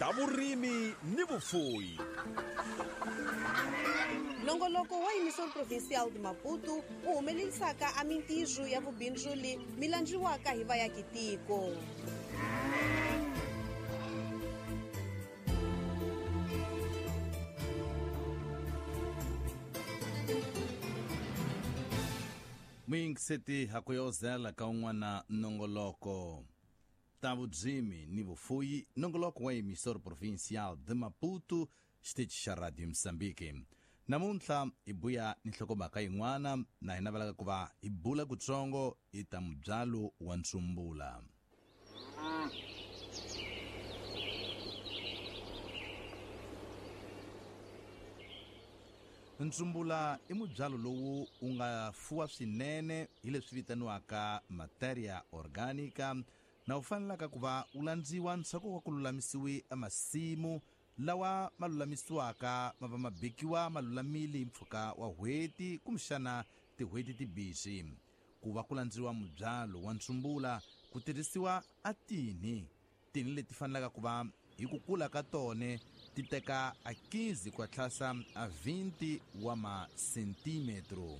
Ta vurimi ni vufuwi. Nongoloko wa Emissor Provincial de Maputo wu humelelisaka a mintirho ya vubindzuli mi landziwaka hi vayakitiko. Muyingiseti hakuyozela ka un'wana nongoloko ta vudzimi ni vufuyi, nongoloko wa Emissor Provincial de Maputo, xitichi xa Radio Mozambique. Namuntlha hi buya ni nhlokomhaka yin'wana na hi navelaka ku va hi bula kutsongo hi ta mubyalo wa ntsumbula. Ntsumbula i mubyalo lowu wu nga fuwa swinene hi leswi vitaniwaka materia orgânica na wu fanelaka ku va wu landziwa ndzhaku ka ku lulamisiwi emasimu lawa ma lulamisiwaka ma va ma bikiwa ma lulamile hi mpfhuka wa n'hweti kumbexana tin'hweti timbirhi. Ku va ku landziwa mubyalo wa ntsumbula ku tirhisiwa a tinhi, tinhi leti fanelaka ku va hi ku kula ka tone ti teka a 15 ku ya tlhasa a 20 wa masentimetro,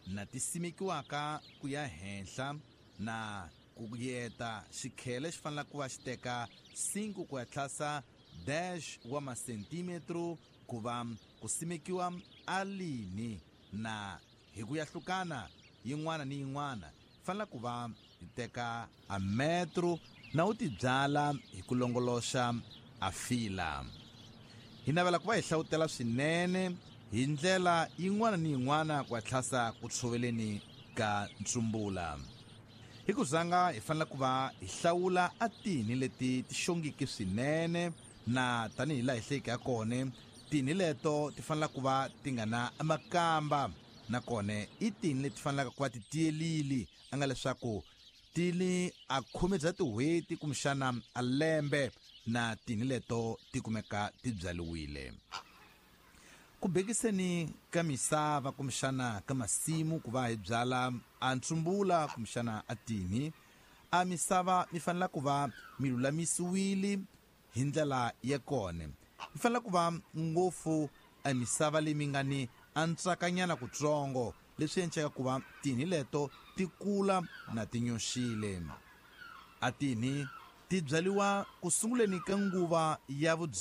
na ti simekiwaka ku ya henhla na ku yeta xikhele xi fanelaka ku va xi teka 5 ku ya tlhasa 10 wa masentimetro ku va ku simekiwa a lini, na hi ku yahlukana yin'wana ni yin'wana fanela ku va hi teka a metro na u ti byala hi ku longoloxa a fila. Hi navela ku va hi hlawutela swinene hi ndlela yin'wana ni yin'wana ku ya tlhasa ku tshoveleni ka ntsumbula. Hi ku zanga hi fanela ku va hi hlawula a tinhi leti ti xongiki swinene, na tanihi laha hi hleyike ya kone tinhi leto ti fanela ku va ti nga na makamba, nakona i tinhi leti fanelaka ku va ti tiyelile a nga leswaku ti ni a khume bya tin'hweti kumbexana a lembe na tinhi leto ti kumeka ti byariwile. Ku bekiseni ka misava kumbexana ka masimu ku va hi byala a ntsumbula kumbexana a tinhi, a misava mi fanela ku va mi lulamisiwile hi ndlela ya kona. Mi fanela ku va ngopfu a misava leyi mi nga ni a ntsakanyana kutsongo, leswi endlaka ku va tinhi leto ti kula na ti nyoxile. A tinhi ti byariwa ku sunguleni ka nguva ya vudzimi.